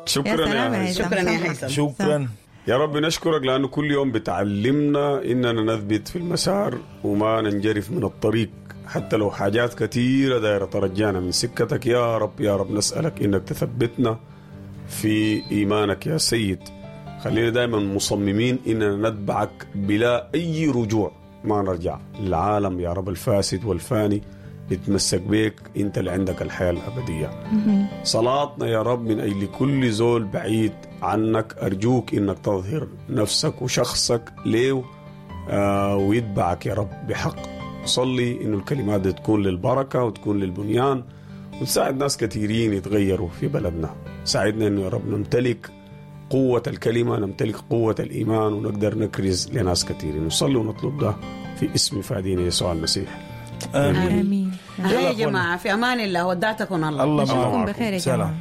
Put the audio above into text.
شكرا يا سلام يا يا هيثم. هيثم. شكرا يا هيثم. شكرا. يا رب نشكرك لأنه كل يوم بتعلمنا إننا نثبت في المسار وما ننجرف من الطريق، حتى لو حاجات كثيرة دايرة ترجعنا من سكتك. يا رب يا رب نسألك إنك تثبتنا في إيمانك يا سيد. خلينا دائما مصممين إننا نتبعك بلا أي رجوع، ما نرجع للعالم يا رب الفاسد والفاني. نتمسك بك، أنت اللي عندك الحياة الأبدية. صلاتنا يا رب من أجل كل زول بعيد عنك، أرجوك إنك تظهر نفسك وشخصك ليه ويتبعك يا رب بحق. صلي إنه الكلمات دي تكون للبركة وتكون للبنيان وتساعد ناس كثيرين يتغيروا في بلدنا. ساعدنا إنه يا رب نمتلك قوة الكلمة، نمتلك قوة الإيمان، ونقدر نكرز لناس كثيرين. نصلي ونطلب ده في اسم فادينا يسوع المسيح. امين. امين. يا يلا جماعة، في امان الله، ودعتكم الله. الله نشوفكم معكم. بخير يا سلام. جماعة.